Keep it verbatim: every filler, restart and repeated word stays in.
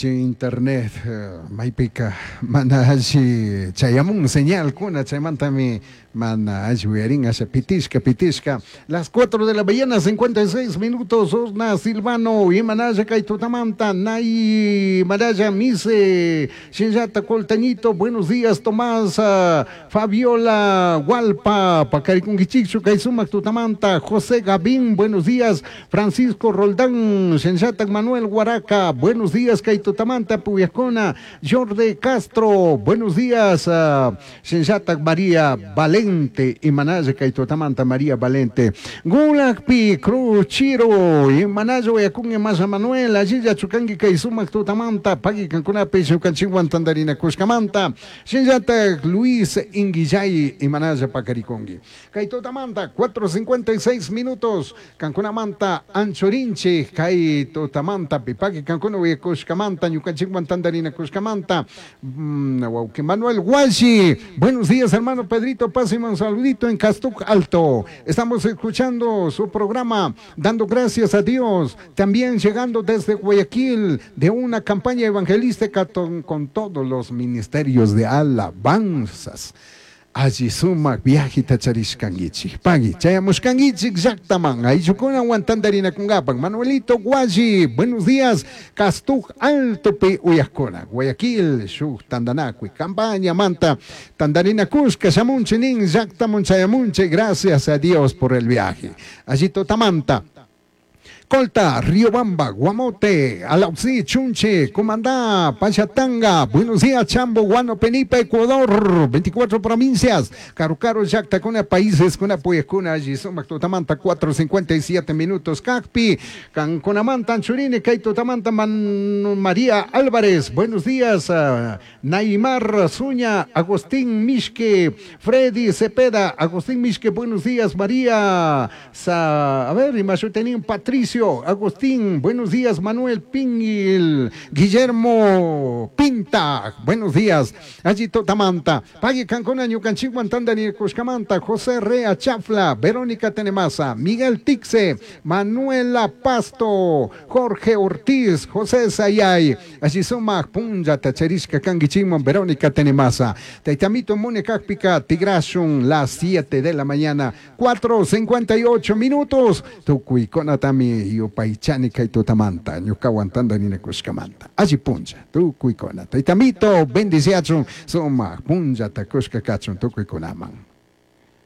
Internet maypika mana alli chayamun señal kuna chaymantami mana alli uyarin asha pitishka pitishka. Las cuatro de la mañana cincuenta y seis minutos. Osna Silvano imanalla kay tutamanta Nay Maraya Mise Shinllata Coltañito, buenos días Tomás, uh, Fabiola Hualpa Pacarikunkichikchu kay sumak tutamanta José Gavín, buenos días Francisco Roldán Shinllata Manuel Guaraca, buenos días kay tutamanta Puyacona Jordi Castro, buenos días uh, Shinllata María Valente Imanaya kay tutamanta María Valente Gulakpi Cruz Chiro Imanaya Uyakun Masa Manuel allilla chukangi kay sumak tutamanta pagi kankunapi ñukanchikwan tandarina kushkamanta Shinllata Luis Inguillay Imanaya pakarikungi kay tutamanta cuatro cincuenta y seis minutos kankunamanta anchorinchi kay tutamanta pipaki kankuna uyakushkamanta ñukanchikwan tandarina kushkamanta mm, wawqi Manuel Guashi, buenos días hermano Pedrito, páseme un saludito en Castuc Alto. Estamos escuchando su programa, dando gracias a Dios. También llegando desde Guayaquil, de una campaña evangelística con, con todos los ministerios de alabanzas. Allí sumak viajita charishkangichik. Pagui, chayamushkangichik llaqtaman. Ayllukuna wantandarina kungapan. Manuelito Guayi, buenos días. Castuc Alto pe uyakuna. Guayaquil, shuk tandanakui. Campaña manta. Tandarina kushka, shamunchi nin, llaqtamun chayamunchi. Gracias a Dios por el viaje. Allí totamanta. Colta, Riobamba, Guamote, Alauxí, Chunche, Comandá, Pachatanga, buenos días, Chambo, Guano, Penipa, Ecuador, veinticuatro provincias, Carucaro, Yactacuna, países, Cuna, Puyacuna, allí Sumac, Totamanta, cuatro cincuenta y siete minutos, Cacpi, Cancunamanta, Anchurine, Caito, Tamanta, Man, María Álvarez, buenos días, uh, Naimar Zuña, Agustín Mishke, Freddy Cepeda, Agustín Mishke, buenos días, María, Sa, a ver, Imashutenín, Patricio, Agustín, buenos días, Manuel Pingil, Guillermo Pinta, buenos días, allí Totamanta, Pagui Cancona, Ñucanchiguan, Tandani, Cuscamanta, José Rea Chafla, Verónica Tenemasa, Miguel Tixe, Manuela Pasto, Jorge Ortiz, José Sayay, allí Suma, Punja, Tacherishka, Canguichimon, Verónica Tenemasa, Taitamito, Munecápica, Tigrashun, las siete de la mañana, cuatro cincuenta y ocho minutos, Tucuiconatami, yupaychani kay tutamanta ñukawan tandarina kushkamanta alli puncha tukuykuna taytamito bendiciachun sumaq punllata kushka kachun tukuykunaman.